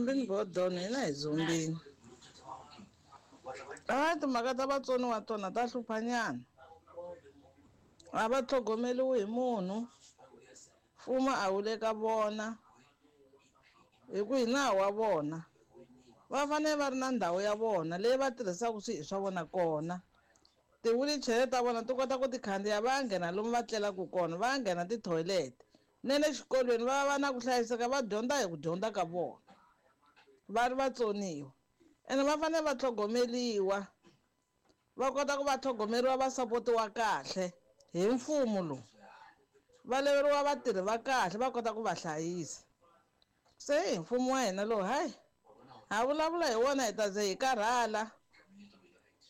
Zumbini Bodon hina hi Zumbini. A timhaka ta vatsoniwa tona ta hluphanyana. A va tlhogomeliwi hi munhu. Mfumo a wu le ka vona. Hi ku hi nawu wa vona. Va fanele va ri na ndhawu ya vona leyi va tirhisaka swilo swa vona kona. Ti-wheelchair ta vona ti kota ku ti khandziya va ya nghena lomu va tlelaka kona, va ya nghena ti-toilet. Na le xikolweni va va na ku hlayiseka va dyondza hi ku dyondza ka vona. Va ri vatsoniwa. Ene va fanele va tlhogomeliwa. Va kota ku va tlhogomeriwa va sapotiwa kahle hi mfumo lowu. Va leveriwa vatirhi va kahle va kota ku va hlayisa. Se hi mfumo wa hina lowu hayi ha vulavula hi wona hi ta ze hi karhala.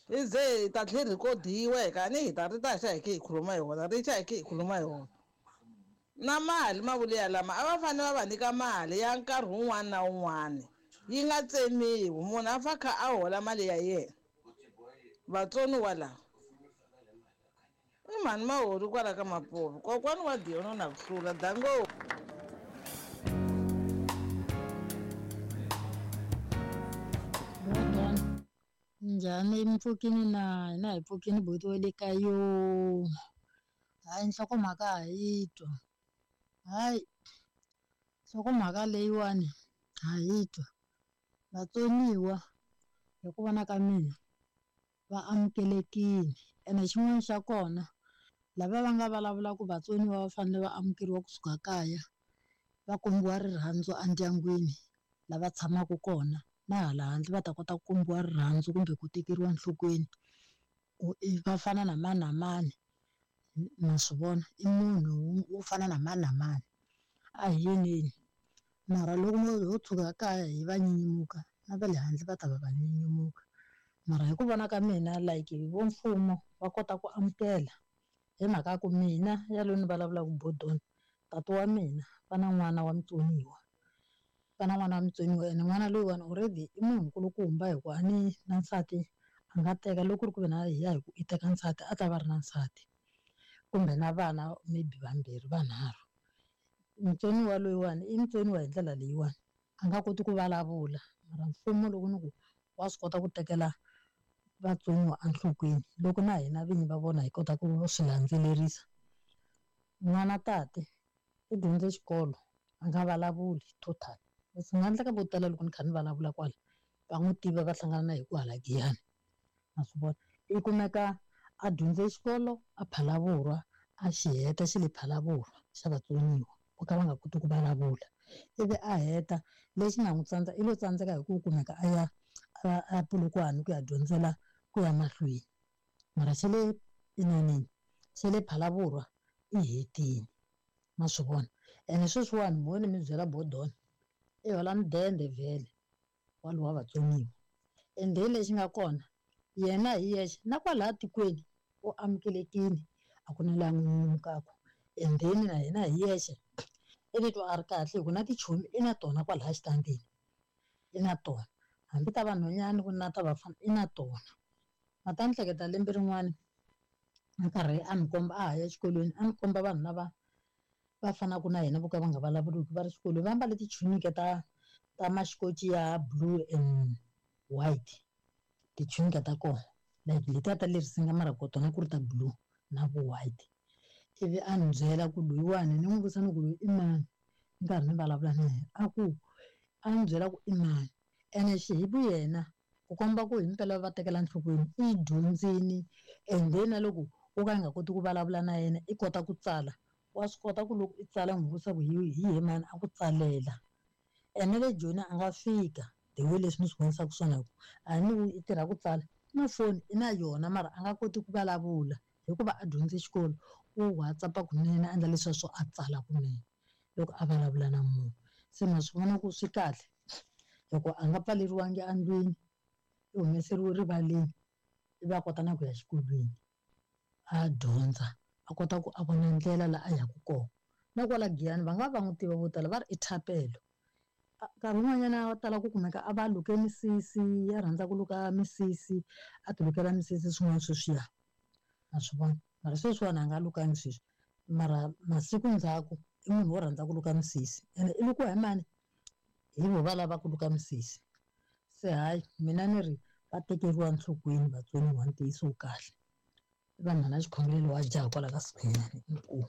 Hi ze hi ta tlhela rhikodiwa hi kani hi ta ri ta xa hi khe hi khuluma hi wona ri xa hi khe hi khuluma hi wona. Na mali mavulu ya lama a va fanele va va nyika mali ya nkarhi wun'wana na wun'wana yi nga tsemiwi munhu a fa kha a hola mali ya yena. Vatsoniwa lava i mhani mahori kwala ka Mapuve kokwani wa Dion na ku hlula dango. Njhani mi pfukini na hina hi pfukini buti wa le ka yo. Hayi nhlokomhaka ha yi twa. Hayi nhlokomhaka leyiwani ha yi twa. Vatsoniwa hi ku vona ka mina va amukelekile ene xin'wana xa kona lava va nga vulavula ku vatsoniwa va fanele va amukeriwa kusuka kaya va kombiwa rirhandzu endyangwini lava tshamaka kona na hala handle va ta kota ku kombiwa rirhandzu kumbe ku tekeriwa enhlokweni ku va fana na mani na mani ma swi vona i munhu wo fana na mani na mani a hi yeneni mara loko ho tshuka kaya hi va nyenyemuka na va le handle va ta va va nyenyemuka. Mara hi ku vona ka mina like vo mfumo va kota ku amukela hi mhaka ya ku mina yaloye ni vulavulaka Bodon tata wa mina va na n'wana wa mutsoniwa va na n'wana wa mutsoniwa ene n'wana loyiwani already i munhu nkulukumba hi ku a ni na nsati a nga teka loko ku ri ku ve na hi ya hi ku i teka nsati a ta va ri na nsati kumbe na vana maybe vambirhi vanharhu. Mutsoniwa loyiwani i mutsoniwa hi ndlela leyiwani a nga koti ku vulavula mara mfumo loko ni ku wa swi kota ku tekela vatsoniwa enhlokweni loko na hina vinyi va vona hi kota ku swi landzelerisa. N'wana tate i dyondze xikolo a nga vulavuli total. Swi nga endleka vo tala loko ni kha ni vulavula kwala va n'wi tiva va hlangana na hi ku hala Giyani ma swi vona. I kumeka a dyondze xikolo a Phalaborwa a xi heta xi le Phalaborwa xa vatsoniwa vo ka va nga koti ku vulavula ivi a heta lexi nga n'wi tsandza i lo tsandzeka hi ku kumeka a ya a Polokwane ku ya dyondzela ku ya mahlweni mara xa le inanini xa le Phalaborwa i hetile ma swi vona. Ene sweswiwani mo ni mi byela Bodon i hola mudende vhele walowa vatsoniwa ende lexi nga kona yena hi yexe na kwalaya tikweni u amukelekile a ku na laha n'wi nyumukaka and then na yena hi yexe i titwa a ri kahle hi ku na tichomi i na tona kwalaya xitandini i na tona hambi ta vanhwanyana ku na ta vafana i na tona. Ma ta ni hleketa lembe rin'wana a karhi a ni komba a ha ya exikolweni a ni komba vanhu lava va fanaka na hina vo ka va nga vulavuliki va ri xikolweni va ambale tichunike ta ta maxikoci ya blue and white tichunike ta kona like letiya ta le risinga mara ko tona ku ri ta blue na vu white. Ivi a ni byela ku loyiwani ni n'wi vutisa ni ku loyi i mani ni karhi ni vulavula na yena a ku a ni byela ku i mani ene xi hi vuyena ku komba ku himpela va tekela enhlokweni i dyondzini and then na loko wo ka i nga koti ku vulavula na yena i kota ku tsala wa swi kota ku loko i tsala n'wi vutisa ku hi hi mani a ku tsalela. Ene le Joni a nga fika the way leswi ni swi vonisaka swona ku a ni i tirha ku tsala na foni i na yona mara a nga koti ku vulavula hikuva a dyondze xikolo u WhatsApp kunene a endla leswiya swo a tsala kunene loko a vulavula na munhu. Se ma swi vona ku swi kahle hikuva a nga pfaleriwangi endlwini i humeseriwe rivaleni ivi a kota na ku ya xikolweni a dyondza a kota ku a vona ndlela laha a yaka kona. Na kwala Giyani va nga va n'wi tiva vo tala va ri i Thapelo. Nkarhi wun'wanyana wa tala ku kumeka a va luke misisi ya rhandza ku luka misisi a ti lukela misisi swin'wana sweswiya ma swi vona. Mara sweswiwani a nga lukangi sweswi mara masiku ndzhaku i munhu wo rhandza ku luka misisi ene i lukiwa hi mani Hi vo va lava ku luka misisi. Se hayi mina ni ri va tekeriwa enhlokweni vatsoniwa ntiyiso wu kahle. I vanhwana xikhongelo wa jaha kwala ka Sikhwenyani inkomu.